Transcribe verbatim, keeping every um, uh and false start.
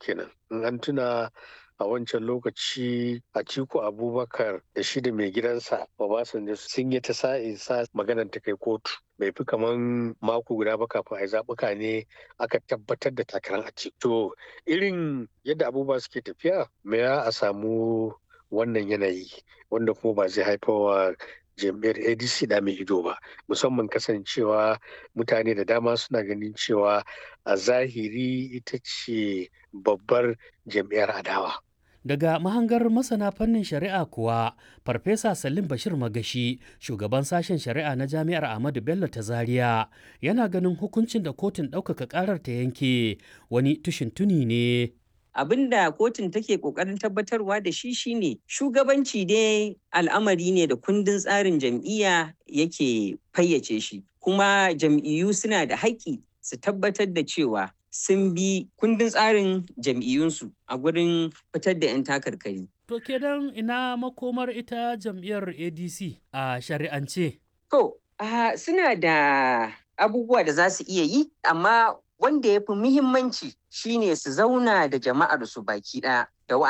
kenan. In an tuna a wancan lokaci Atiku Abubakar da shi da mai gidansa Obasanjo sun yi ta sa'in sa maganar ta kai kotu. Bai fi kaman mako guda ba kafin a yi zaɓuka ne aka tabbatar da takarar Atiku. To irin yadda abubuwa suke tafiya, me ya a samu wannan yanayi wanda kuma ba zai haifarwa jam'iyyar A D C da mai ido ba, musamman kasancewa mutane da dama suna ganin cewa a zahiri ita ce babbar jam'iyyar adawa. Daga mahangar masana fannin shari'a kuwa, Farfesa Salim Bashir Magashi, shugaban sashen shari'a na Jami'ar Ahmadu Bello ta Zaria, yana ganin hukuncin da kotun ɗaukaka ƙarar ta yanke wani tushin tuni ne. Abin da kotun take kokarin tabbatarwa da shi shine shugabanci dai al'amari ne da kundin tsarin jam'iyya yake fayyace shi, kuma jam'iyyu suna da haƙƙi su tabbatar da cewa sun bi kundin tsarin jam'iyyunsu a gurin fitar da 'yan takarkari. To kenan ina makomar ita jam'iyyar A D C a shari'ance? To, uh, suna da abubuwa da za su iya yi, amma wanda ya fi muhimmanci shine su zauna da jama'ar su baki ɗaya da